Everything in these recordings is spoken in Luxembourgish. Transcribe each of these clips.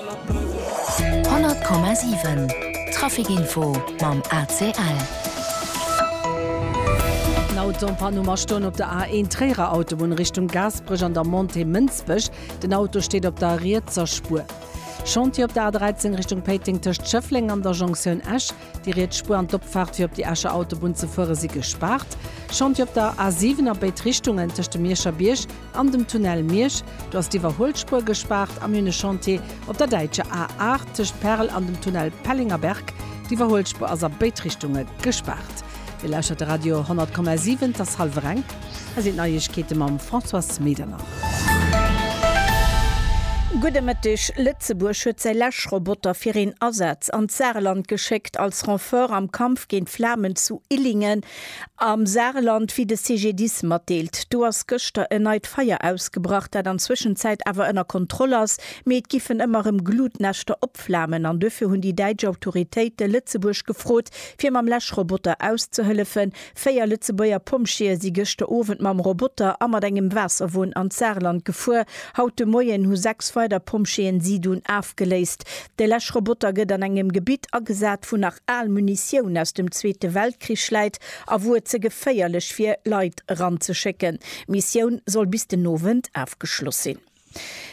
100,7 Trafic Info mam ACL. En Auto en panne um Astoen op der A1 Tréierer Autobunn Richtung Gaasperech an der Montée Mënsbech. Den Auto steet op der rietser Spuer. Chantier op der A13 Richtung Péiteng tëscht Schëffleng an der Jonktioun Esch. Déi riets Spuer an d'Opfaart fir op déi Escher Autobunn ze fuere si gespaart. Chantier op der A7 a béid Richtungen tëscht dem Mierscher Bierg an dem Tunnel Miersch. Do ass d'Iwwerhuelspuer gespaart. A mir hunn e Chantier op der däitscher A8 tëscht Perl an dem Tunnel Pellengerberg. D'Iwwerhuelspuer ass a béid Richtunge gespaart. Dir lauschtert de Radio 10,7. Et ass hallwer eng. Hei sinn d'Neiegkeete mam Françoise Medernach. Gudde Mëtteg. Lëtzebuerg huet säi Läschroboter fir een Asaz an d'Saarland geschéckt, als Renfort am Kampf géint d'Flamen zu Illingen am Saarland, wéi de CGDIS matdeelt. Do ass gëschter en neit Feier ausgebrach, dat an Zwëschenzäit awer ënner Kontroll ass, mee et giffen ëmmer erëm Glutnäschter opflamen an duerfir hunn déi däitsch Autoritéite Lëtzebuerg gefrot, fir mam Läschroboter auszehëllefen. 4 Lëtzebuerger Pompjeeë si gëschter Owend mam Roboter a mat engem Waasserwon an d'Saarland gefuer. Haut de Moien hu 6 weider Pompjeeën si dunn afgeléist. De Läschroboter gëtt an engem Gebitt agesat, wou nach al Munitioun aus dem Zweete Weltkrich läit a wou et ze geféierlech wier, Leit eranzeschécken. D'Missioun soll bis den Owend afgeschloss sinn.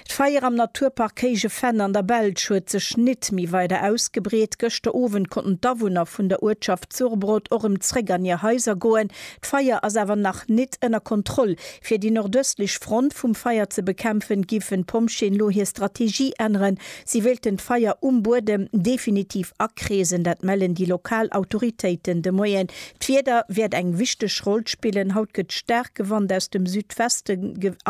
D'Feier am Naturpark Héije Venn an der Belsch huet sech nit méi weider ausgebreet. Gëschter Owend konnten d'Awunner vun der Uertschaft Zurbrodt och erëm zréck an hir Haiser goen. D'Feier ass awer nach nit ënner Kontroll. Fir déi nordëstlech Front vum Feier ze bekämpfen, giffen d'Pompjeeën elo hir Strategie änneren. Si wéilten d'Feier um Buedem definitiv akreesen, dat mellen déi lokal Autoritéiten de Moien. D'Wieder wäert eng wichteg Roll spillen. Haut gëtt staarke Wand aus dem Südweste.